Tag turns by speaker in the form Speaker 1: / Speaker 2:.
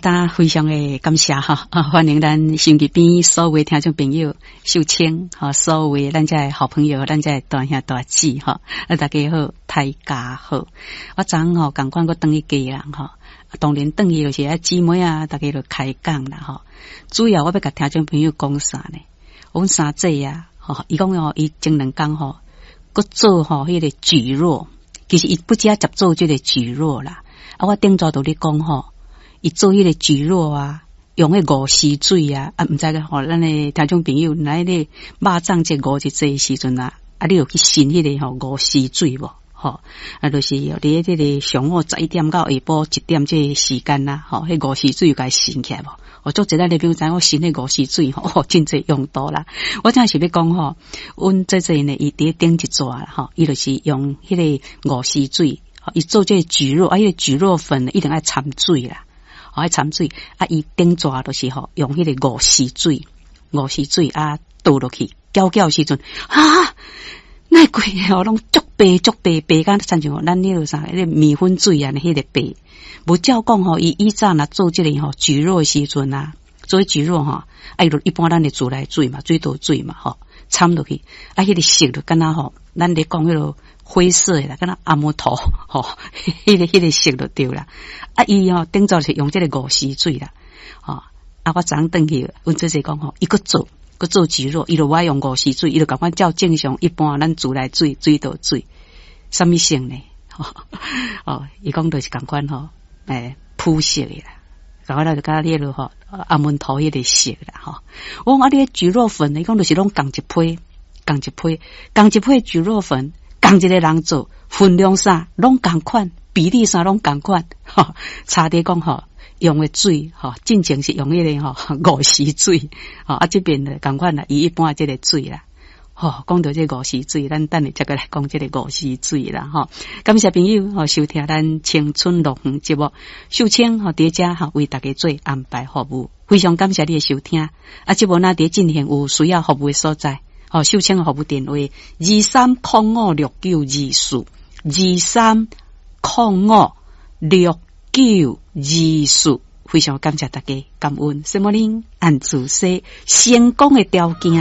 Speaker 1: 當非常的感謝哈，啊，歡迎咱收音機邊所有聽眾朋友，秀清哈，所有咱遮好朋友，咱遮大兄大姊哈，啊，大家好，大家好。我昨昏吼，仝款閣轉去基隆吼，當然轉去就是啊姊妹啊，大家就開講啦吼。主要我欲共聽眾朋友講啥呢？阮三姐啊，吼，伊講吼，伊前兩工吼，閣做吼彼個蒟蒻，其實伊不止接做這個蒟蒻啦。啊，我頂晝就咧講吼，伊做彼個蒟蒻啊，用彼五絲水啊，啊，毋知吼，咱的聽眾朋友，來咧肉粽節五日節的時陣啊，啊，你有去伸彼個吼五絲水無？吼，啊，就是佇咧這個上午11點到下晡1點這個時間啦，吼，彼五絲水有共伸起來無？我做一咱的朋友知影我伸彼五絲水吼，真濟用途啦。我正是欲講吼，阮姐姐呢，伊佇頂一逝啦，吼，伊就是用彼個五絲水，伊做這個蒟蒻，啊，彼個蒟蒻粉一定愛摻水啦，愛摻水，啊，伊頂逝就是吼，用彼個五絲水，五絲水啊倒落去，攪攪時陣，啊，那規個吼攏足白足白白甲親像咱彼個啥，彼個麵粉水啊，彼個白。無照講吼，伊以前若做這個吼蒟蒻的時陣啊，做蒟蒻吼，啊，伊就一般咱的自來水嘛，水道水嘛，吼，摻落去，啊，彼個色就敢若吼，咱咧講彼個灰色的啦，敢若阿摩頭吼，彼個色就對啦。啊，伊吼頂早是用這個五絲水啦，吼，啊，我昨昏轉去，阮姐姐講吼，伊閣做。閣做蒟蒻，伊就無愛用五絲水，伊就共款照正常一般咱自來水、水道水，啥物色呢？哦，伊講就是仝款吼，欸，膚色的啦，共款就佮彼個吼阿門頭彼個色啦，吼。我講啊，你蒟蒻粉，伊講就是攏仝一批，仝一批，仝一批蒟蒻粉，仝一個人做，分量啥攏仝款，比例啥攏仝款，吼，差佇講吼。用的水吼，進前是用彼個吼五絲水，吼啊這邊的仝款啦，伊一般這個水啦，吼講到這五絲水，咱等下再閣來講這個五絲水啦，吼。感謝朋友吼收聽咱青春樂園節目，秀清吼佇遮吼為大家做安排服務，非常感謝你的收聽。啊，節目若佇進行有需要服務的所在，吼秀清的服務電話23056924，23056924，非常感謝大家，感恩。什麼恁按主說成功的條件。